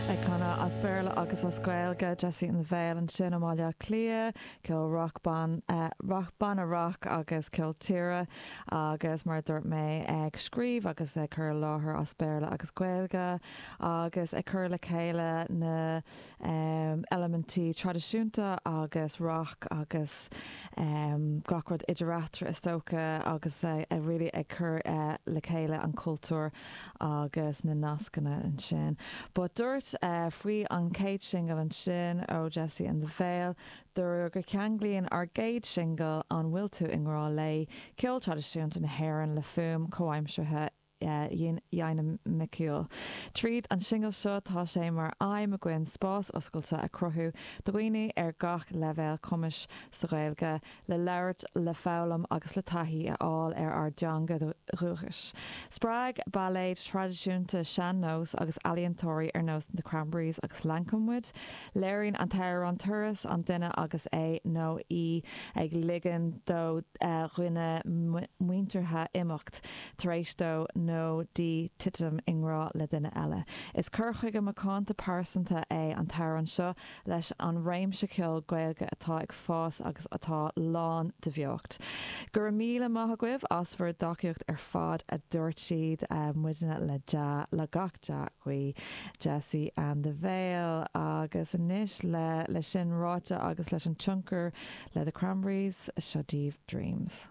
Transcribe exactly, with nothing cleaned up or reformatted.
Ag canadh as Béarla agus as Gaeilge Jessie and the Veil ansin ó Bhaile Átha Cliath, ceol rock ban uh, rock banna rock agus ceol tíre agus mar dúirt mé ag scríobh agus ag cur láthair as Béarla agus Gaeilge agus ag cur le chéile na um, eilimintí traidisiúnta agus rock agus um, gach rud idir eatarthu is dócha agus uh, a really ag cur uh, le chéile an cultúr agus na nascanna ansin. But dúirt uh, faoi an chéad singil ansin ó Jessie and the Veil, dúradh go gceanglaíonn ár gcéad singil an bhfuil tú i ngrá léi ceol traidisiúnta na hÉireann le fuaim chomhaimseartha dhinimiciúil. Tríd an singil seo tá sé mar aidhm againn spás oscailte a chruthú do dhaoine ar gach leibhéal cumais sa Ghaeilge le labhairt le foghlaim agus le taithí a fháil ar ár dteanga dhúchais. Spreag bailéid traidisiúnta sean-nós agus ealaíontóirí ar nós the Cranberries agus Lankum muid, Léiríonn an t-amhrán turas an duine agus é nó í ag ligean dó uh, dhuine muinteartha imeacht tar éis dó nó di titim i ngrá le duine eile. Is cur chuige macánta pearsanta é an t-amhrán seo leis an réimse ceol Gaeilge atá ag fás agus atá lán de bheocht. Go raibh míle maith agaibh as bhur dtacaíocht ar fad a dúirt siad uh, muidne le dea le gach dea-ghuí Jessie and the Veil agus anois le le sin ráite agus leis an tionchar le the Cranberries seo daoibh Dreams.